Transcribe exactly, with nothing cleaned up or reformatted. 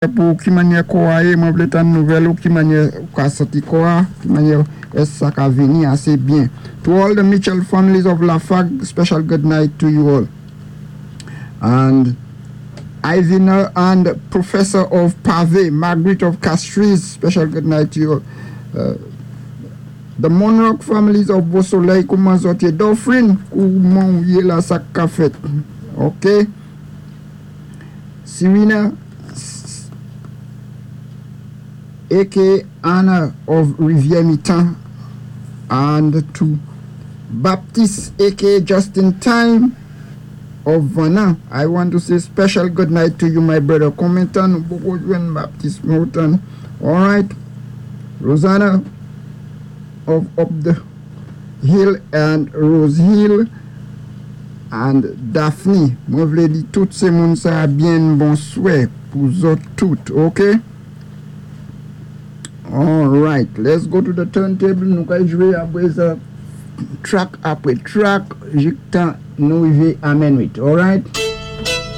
Pou ki mannyè kò a yé, mwen vlé tann nouvèl ou ki mannyè ou ka santi kò a, ki mannyè ès sa ka vini asé byen. To all the Mitchell families of Lafargue, special good night to you all. And Ivina and Professor of Pave, Margaret of Castries, special good night to you all. Uh, the Monrock families of Beausoleil, kouman zòt yé? Dauphin, kouman yé la, sak ka fèt? OK. Serena, aka Anna of Rivière Mitan, and to Baptiste, aka Justin Time of Vana. I want to say special good night to you, my brother. Konbyen tan nou poko jwenn Baptiste Moulton. All right. Rosanna of Up the Hill and Rose Hill and Daphne. Mwen vlé di tout sé moun sa byen bonswè pou zòt tout, OK? All right, let's go to the turntable. Nou ka jwé apwé sa track apwé track jiktan nou wivé a minwit. All right?